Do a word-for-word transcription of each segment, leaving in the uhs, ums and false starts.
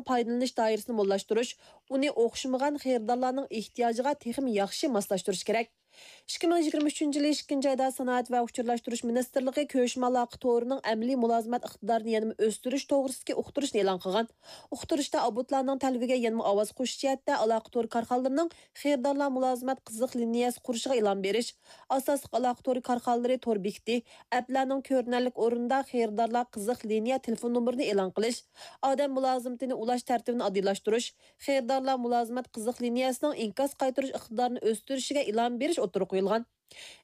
پايدىلىنىش دائىرىسىنى موللاشتۇرۇش، ئۇنى ئوخشىمىغان خېرىدارلارنىڭ ئېھتىياجىغا تېخىمۇ ياخشى ماسلاشتۇرۇش كېرەك. ئىككى مىڭ يىگىرمە ئۈچىنچى يىلى ئىككىنچى ئايدا سانائەت ۋە ئۇچۇرلاشتۇرۇش مىنىستىرلىقى كۆچمە ئالاقە تورىنىڭ ئەمەلىي مۇلازىمەت ئىقتىدارىنى يەنىمۇ ئۆستۈرۈش توغرىسىدىكى ئۇقتۇرۇشنى ئېلان قىلغان. ئۇقتۇرۇشتا ئابونتلارنىڭ تەلىپىگە يەنىمۇ ئاۋاز قوشۇش جەھەتتە ئالاقە تورى كارخانىلىرىنىڭ خېرىدارلار مۇلازىمەت قىزىق لىنىيەسى قۇرۇشىغا ئىلھام بېرىش، ئاساسلىق ئالاقە تورى كارخانىلىرى تور بېكىتى، ئەپلەرنىڭ كۆرۈنەرلىك ئورنىدا خېرىدارلار قىزىق لىنىيە تېلېفون نومۇرىنى ئېلان قىلىش، ئادەم مۇلازىمىتىنى ئۇلاش تەرتىپىنى ئاددىيلاشتۇرۇش، خېرىدارلار مۇلازىمەت قىزىق لىنىيەسىنىڭ ئىنكاس قايتۇرۇش ئىقتىدارىنى ئۆستۈرۈشىگە ئىلھام بېرىش ئوتتۇرىغا قويۇلغان.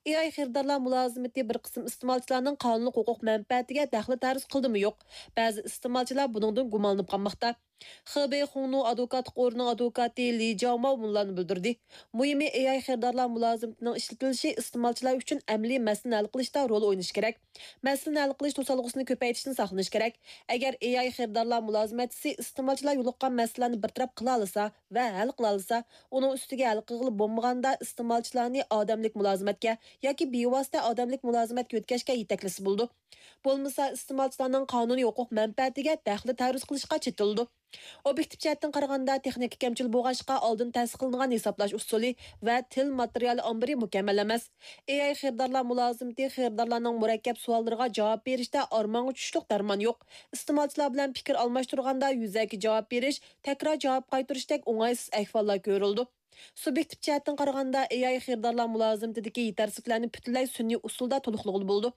ئېي ئاي خېرىدارلار مۇلازىمىتى بىر قىسىم ئىستېمالچىلارنىڭ قانۇنلۇق ھوقۇق مەنپەئەتىگە دەخلى تەرۇز قىلدىمۇ يوق، بەزى ئىستېمالچىلار بۇنىڭدىن گۇمانلىنىپ قالماقتا. خېبېي خۇڭنۇ ئادۋوكاتلىق ئورنىنىڭ ئادۋوكاتى لى جاۋماۋ مۇنۇلارنى بىلدۈردى: مۇھىمى، ئېي ئاي خېرىدارلار مۇلازىمىتىنىڭ ئىشلىتىلىشى ئىستېمالچىلار ئۈچۈن ئەمەلىي مەسىلىنى ھەل قىلىشتا رول ئوينىشى كېرەك. مەسىلىنى ھەل قىلىش توسالغۇسىنى كۆپەيتىشتىن ساقلىنىش كېرەك. ئەگەر ئېي ئاي خېرىدارلار مۇلازىمەتچىسى ئىستېمالچىلار يولۇققان مەسىلىلەرنى بىر تەرەپ قىلالىسا ۋە ھەل قىلالىسا، ئۇنىڭ ئۈستىگە ھەل قىلغىلى بولمىغاندا ئىستېمالچىلارنى ئادەملىك مۇلازىمەتكە ياكى بىۋاسىتە ئادەملىك مۇلازىمەتكە يۆتكەشكە يېتەكلىسە بولىدۇ. بولمىسا ئىستېمالچىلارنىڭ قانۇنىي ھوقۇق مەنپەئەتىگە دەخلى تەرۇز قىلىشقا چېتىلىدۇ. ئوبيېكتىپ جەھەتتىن قارىغاندا، تېخنىكا كەمچىل بولغاچقا، ئالدىن تەستىقلىنغان ھېسابلاش ئۇسۇلى ۋە تىل ماتېرىيالى ئامبىرى مۇكەممەل ئەمەس. ئېي ئاي خېرىدارلار مۇلازىمىتى خېرىدارلارنىڭ مۇرەككەپ سوئاللىرىغا جاۋاب بېرىشتە ئارمانغا چۈشلۈك دەرمان يوق. ئىستېمالچىلار بىلەن پىكىر ئالماشتۇرغاندا يۈزەكى جاۋاب بېرىش، تەكرار جاۋاب قايتۇرۇشتەك ئوڭايسىز ئەھۋاللار كۆرۈلىدۇ. سۇبيېكتىپ جەھەتتىن قارىغاندا، ئېي ئاي خېرىدارلار مۇلازىمىتىدىكى يېتەرسىزلىكلەرنى پۈتۈنلەي سۈنئىي ئۇسۇلدا تولۇقلىغىلى بولىدۇ.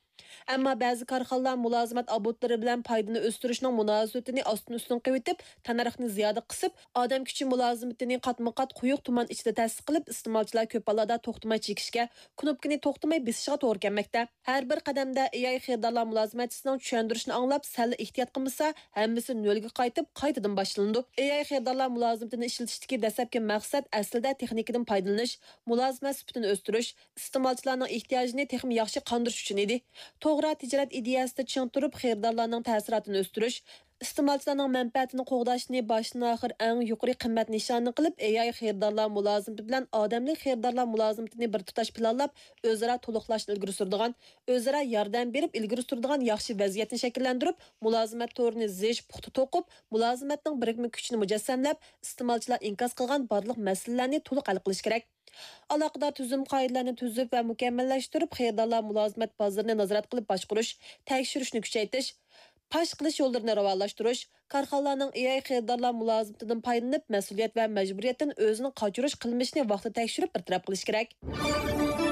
ئەمما بەزى كارخانىلار مۇلازىمەت ئابونتلىرى بىلەن پايدىنى ئۆستۈرۈشنىڭ مۇناسىۋىتىنى ئاستىن ئۈستۈن قىلىۋېتىپ، تەننەرخنى زىيادە قىسىپ، ئادەم كۈچى مۇلازىمىتىنى قاتمۇ قات قويۇق تۇمان ئىچىدە تەسىس قىلىپ، ئىستېمالچىلار كۆپ ھاللاردا توختىماي چېكىشكە، كۇنۇپكىنى توختىماي بېسىشىغا توغرا كەلمەكتە. ھەر بىر قەدەمدە ئېي ئاي خېرىدارلار مۇلازىمەتچىسىنىڭ چۈشەندۈرۈشىنى ئاڭلاپ، سەللا ئېھتىيات قىلمىسا، ھەممىسى نۆلگە قايتىپ، قايتىدىن باشلىنىدۇ. ئېي ئاي خېرىدارلار مۇلازىمىتىنى ئىشلىتىشتىكى دەسلەپكى مەقسەت ئەسلىدە تېخنىكىدىن پايدىلىنىش، مۇلازىمەت سۈپىتىنى ئۆستۈرۈش، ئىستېمالچىلارنىڭ ئېھتىياجىنى تېخىمۇ ياخشى قاندۇرۇش ئۈچۈن ئىدى. توغرا تىجارەت ئىدىيەسىدە چىڭ تۇرۇپ، خېرىدارلارنىڭ تەسىراتىنى ئۆستۈرۈش، ئىستېمالچىلارنىڭ مەنپەئەتىنى قوغداشنى باشتىن ئاخىر ئەڭ يۇقىرى قىممەت نىشانى قىلىپ، ئېي ئاي خېرىدارلار مۇلازىمىتى بىلەن ئادەملىك خېرىدارلار مۇلازىمىتىنى بىر تۇتاش پىلانلاپ، ئۆزئارا تولۇقلاشنى ئىلگىرى سۈرىدىغان، ئۆزئارا ياردەم بېرىپ ئىلگىرى سۈرىدىغان ياخشى ۋەزىيەتنى شەكىللەندۈرۈپ، مۇلازىمەت تورىنى زىچ، پۇختا توقۇپ، مۇلازىمەتنىڭ بىرىكمە كۈچىنى مۇجەسسەملەپ، ئىستېمالچىلار ئىنكاس قىلغان بارلىق مەسىلىلەرنى تولۇق ھەل قىلىش كېرەك. ئالاقىدار تۈزۈم قائىدىلەرنى تۈزۈپ ۋە مۇكەممەللەشتۈرۈپ، خېرىدارلار مۇلازىمەت بازىرىنى نازارەت قىلىپ باشقۇرۇش، تەكشۈرۈشنى كۈچەيتىش، پاش قىلىش يوللىرىنى راۋانلاشتۇرۇش، كارخانىلارنىڭ ئېي ئاي خېرىدارلار مۇلازىمىتىدىن پايدىلىنىپ، مەسئۇلىيەت ۋە مەجبۇرىيەتتىن ئۆزىنى قاچۇرۇش قىلمىشىنى ۋاقتىدا تەكشۈرۈپ بىر تەرەپ قىلىش كېرەك.